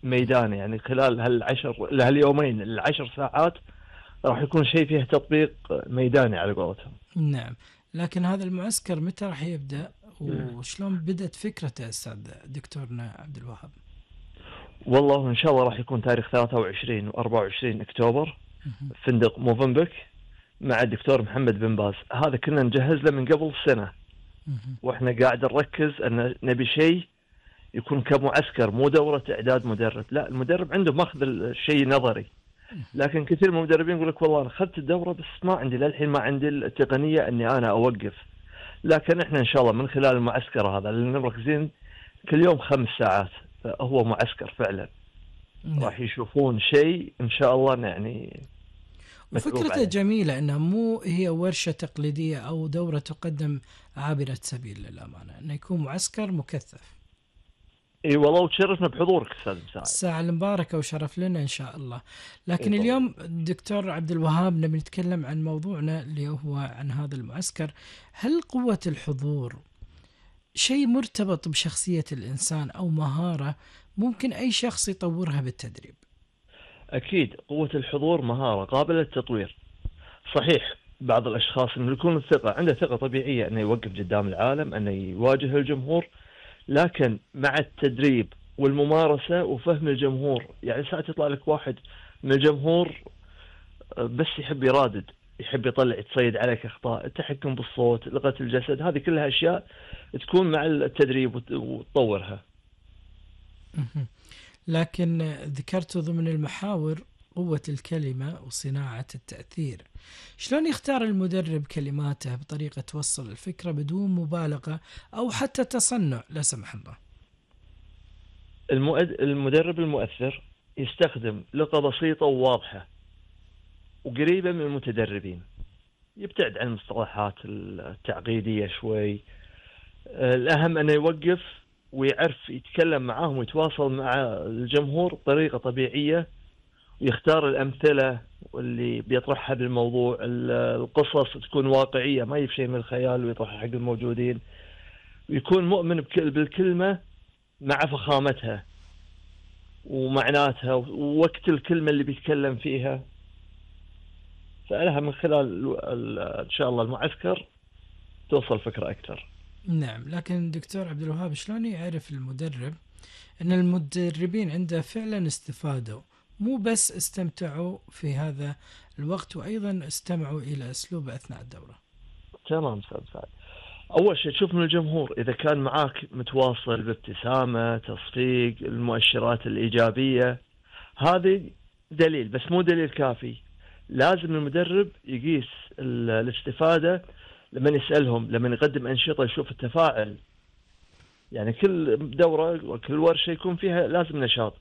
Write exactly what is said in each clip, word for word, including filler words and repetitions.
ميداني، يعني خلال هالعشر هاليومين العشر ساعات راح يكون شيء فيه تطبيق ميداني على قولتهم. نعم. لكن هذا المعسكر متى راح يبدأ وشلون بدأت فكرته أستاذ دكتورنا عبد الوهاب؟ والله إن شاء الله راح يكون تاريخ ثلاثة وعشرين وأربعة وعشرين أكتوبر، فندق موفنبك مع الدكتور محمد بن باز. هذا كنا نجهز له من قبل سنة، واحنا قاعد نركز ان نبي شيء يكون كمعسكر، مو دورة اعداد مدرب. لا، المدرب عنده ماخذ الشيء نظري، لكن كثير من المدربين يقول لك والله انا اخذت الدورة بس ما عندي للحين ما عندي التقنية اني انا اوقف. لكن احنا ان شاء الله من خلال المعسكر هذا اللي مركزين كل يوم خمس ساعات، هو معسكر فعلا. نعم. راح يشوفون شيء ان شاء الله يعني وفكرته جميلة انها مو هي ورشة تقليدية او دورة تقدم عابرة سبيل للأمانة، انه يكون معسكر مكثف. اي والله، وتشرفنا بحضورك استاذ مساعد. الساعة المباركة وشرف لنا ان شاء الله. لكن إيه اليوم دكتور عبد الوهاب نبي نتكلم عن موضوعنا اللي هو عن هذا المعسكر. هل قوة الحضور شيء مرتبط بشخصية الإنسان أو مهارة ممكن أي شخص يطورها بالتدريب؟ أكيد قوة الحضور مهارة قابلة للتطوير. صحيح بعض الأشخاص إنه يكون الثقة عنده ثقة طبيعية إنه يوقف قدام العالم، إنه يواجه الجمهور، لكن مع التدريب والممارسة وفهم الجمهور، يعني ساعات يطلع لك واحد من الجمهور بس يحب يرادد، يحب يطلع يتصيد عليك أخطاء، التحكم بالصوت، لغة الجسد، هذه كلها أشياء تكون مع التدريب وتطورها. لكن ذكرت ضمن المحاور قوة الكلمة وصناعة التأثير. شلون يختار المدرب كلماته بطريقة توصل الفكرة بدون مبالغة أو حتى تصنع لا سمح الله؟ المدرب المؤثر يستخدم لغة بسيطة وواضحة وقريبة من المتدربين، يبتعد عن المصطلحات التعقيدية شوي. الأهم أنه يوقف ويعرف يتكلم معاهم ويتواصل مع الجمهور بطريقة طبيعية، ويختار الأمثلة واللي بيطرحها بالموضوع. القصص تكون واقعية، ما يجيب شيء من الخيال ويطرحها حق الموجودين، ويكون مؤمن بالكلمة مع فخامتها ومعناتها ووقت الكلمة اللي بيتكلم فيها. فلها من خلال إن شاء الله المعسكر توصل فكرة أكثر. نعم. لكن دكتور عبد الوهاب شلون يعرف المدرب أن المدربين عنده فعلا استفادوا، مو بس استمتعوا في هذا الوقت وأيضا استمعوا إلى أسلوبه أثناء الدورة؟ تمام أستاذ سعد. أول شيء تشوف من الجمهور إذا كان معاك متواصل بابتسامة، تصفيق، المؤشرات الإيجابية، هذه دليل بس مو دليل كافي. لازم المدرب يقيس الاستفادة لما يسألهم، لما يقدم أنشطة يشوف التفاعل. يعني كل دورة وكل ورشة يكون فيها لازم نشاط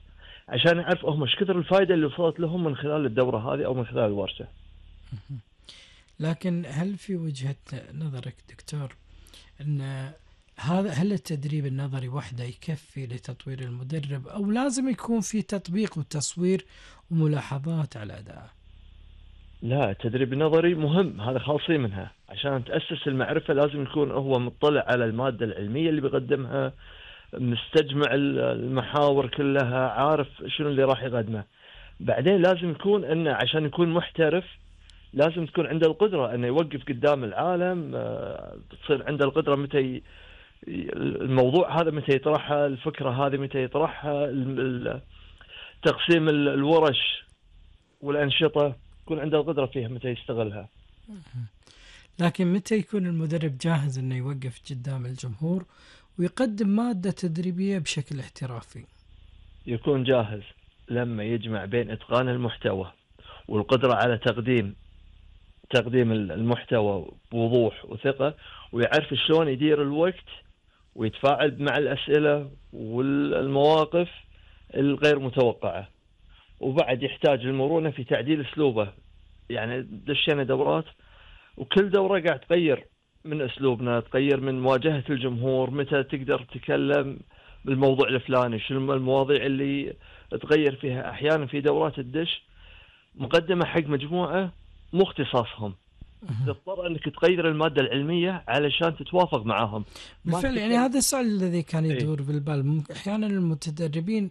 عشان يعرف هم ايش كثر الفائدة اللي وصلت لهم من خلال الدورة هذه أو من خلال الورشة. لكن هل في وجهة نظرك دكتور أن هذا هل التدريب النظري وحده يكفي لتطوير المدرب أو لازم يكون في تطبيق وتصوير وملاحظات على أداءه؟ لا، التدريب النظري مهم، هذا خالصين منها. عشان تأسس المعرفة لازم يكون هو مطلع على المادة العلمية اللي بيقدمها، مستجمع المحاور كلها، عارف شنو اللي راح يقدمه. بعدين لازم يكون انه عشان يكون محترف لازم تكون عنده القدرة انه يوقف قدام العالم، تصير عنده القدرة متى الموضوع هذا متى يطرحها، الفكرة هذه متى يطرحها، تقسيم الورش والأنشطة يكون عنده القدرة فيها متى يستغلها. لكن متى يكون المدرب جاهز انه يوقف قدام الجمهور ويقدم مادة تدريبية بشكل احترافي؟ يكون جاهز لما يجمع بين إتقان المحتوى والقدرة على تقديم تقديم المحتوى بوضوح وثقة، ويعرف شلون يدير الوقت ويتفاعل مع الأسئلة والمواقف الغير متوقعة. وبعد يحتاج المرونة في تعديل أسلوبه. يعني دشينا دورات وكل دورة قاعد تغير من أسلوبنا، تغير من مواجهة الجمهور، متى تقدر تتكلم بالموضوع الفلاني، شنو المواضيع اللي تغير فيها. أحيانا في دورات الدش مقدمة حق مجموعة مو اختصاصهم، تضطر أنك تغير المادة العلمية علشان تتوافق معاهم. بالفعل يعني هذا السؤال الذي كان يدور بالبال. أحيانا المتدربين